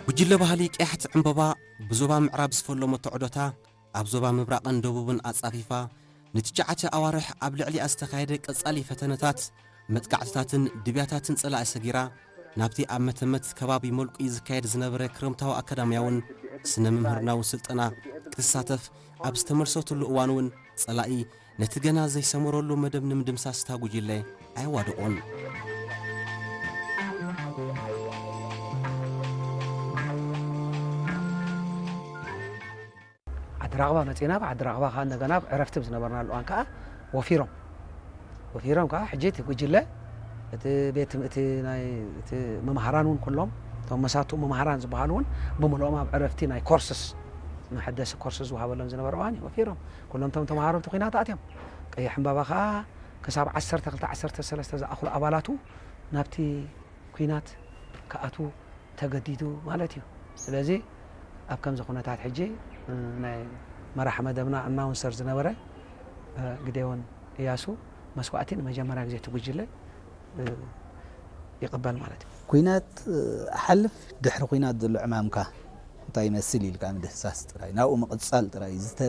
ጉጅለ ባህሊ ቀያሕቲ ዕምበባ ብዞባ ምዕራብ ዝፈለሞ ተዕዶታ ኣብ ዞባ ምብራቕን ደቡብን ኣጻፊፋ ንትሽዓተ ኣዋርሕ ኣብ ልዕሊኣ ዝተኻየደ ቀጻሊ ፈተነታት፣ መጥቃዕትታትን ድብያታትን ጸላኢ ሰጊራ ናብቲ ኣብ መተመት ከባቢ መልቁ ዝካየድ ዝነበረ ክረምታዊ ኣካዳምያውን ስነ ምምህርናዊ ስልጠና ክትሳተፍ ኣብ ዝተመልሰትሉ እዋን እውን ጸላኢ ነቲ ገና ዘይሰመረሉ መደብ ንምድምሳስ እታ ጉጅለ ኣየዋደቖን። ዓዲ ራቕባ መፂና። ኣብ ዓዲ ራቕባ ከዓ እንደገና ኣብ ዕረፍቲ ዝነበርናሉ እዋን ከዓ ወፊሮም ወፊሮም ከዓ ሕጂ እቲ ጉጅለ እቲ ቤት ትም- እቲ ናይ እቲ መምሃራን እውን ኩሎም እቶም መሳቱ መምሃራን ዝበሃሉ እውን ብምልኦም ኣብ ዕረፍቲ ናይ ኮርስስ መሐደሲ ኮርስ ዝወሃበሎም ዝነበረ እዋን እዩ ወፊሮም ኩሎም እቶም ተምሃሮ ኣብቲ ኩናት ኣትዮም። ቀይሕ ዕምባባ ከዓ ክሳብ ዓሰርተ ክልተ ዓሰርተ ሰለስተ ዝኣኽሉ ኣባላቱ ናብቲ ኩናት ክኣትዉ ተገዲዱ ማለት እዩ። ስለዚ ኣብ ከምዚ ኩነታት ሕጂ ናይ መራሕ መደብና ኣናውንሰር ዝነበረ ግዴዎን እያሱ መስዋእቲ ንመጀመርያ ግዜ እቲ ጉጅለ ይቕበል ማለት እዩ። ኩናት ሓልፍ ድሕሪ ኩናት ዘሎ ዕማምካ እንታይ ይመስል ኢልካ ምድህሳስ ጥራይ ናብኡ ምቕጻል ጥራይ እዩ